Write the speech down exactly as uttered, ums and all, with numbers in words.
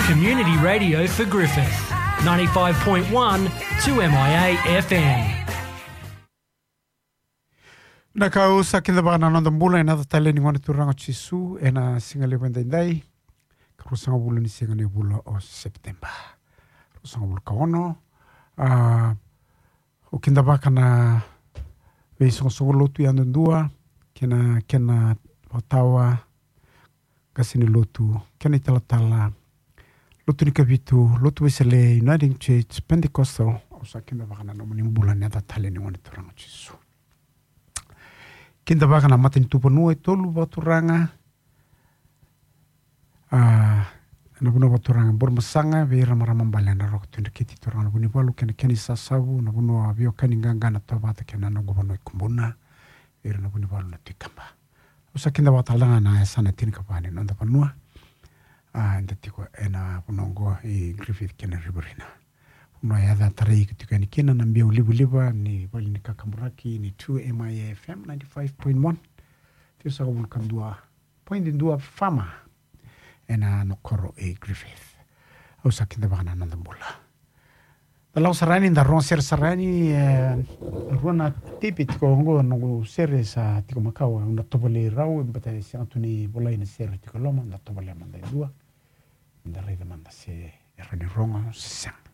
Community radio for Griffith, ninety-five point one two M I A F M. Na ka au sa kidavaka na noda bula ena yaca talei ni Gone Turaga o Jisu ena siga levu edaidai, ka ruasagavulu ni siga ni vula o Sepiteba, ruasagavulu ka ono. A, au kidavaka na veisoqosoqo lotu yadudua kei na kena vakatawa, qase ni lotu, kena italatala, Lotu ni Kavitu, Lotu Wesele, Uniting Church, Pentecostal. Au sa kidavaka na nomuni bula ena yaca talei ni Gone Turaga o Jisu. Kidavaka na matanitu vanua e tolu vakaturaga. A, na vanua vakaturaga Burebasaga, vei ira na marama bale na Roko Tui Dreketi, turaga na Vunivalu kei na kena isasavu, na vanua veiwekani qaqa na Tovata kei na noqu vanua e Kubuna, vei ira na Vunivalu na Tui Kaba. Au sa kidavaka tale ga na yasana tinikava ni noda vanua. A, eda tiko ena vanua oqo i Griffith kei na Riverina. Vanua e yaca tarai iko tiko yani kina na biau livaliva ni vale ni kakaburaki ni two M I A F M ninety-five point one. Tiko sa vulu ka dua point dua F M ena nona koro e Griffith. Au sa kidavaka na noda bula. Da lako sara yani, da rogo sere sara yani, e, rua na tepi tiko oqo, noqu sere sa tiko makawa, au na tovolei rau, baleta e sega tu ni volai na sere tiko e loma, da tovolea mada e dua. Da raica mada se e rawa ni rogo se sega.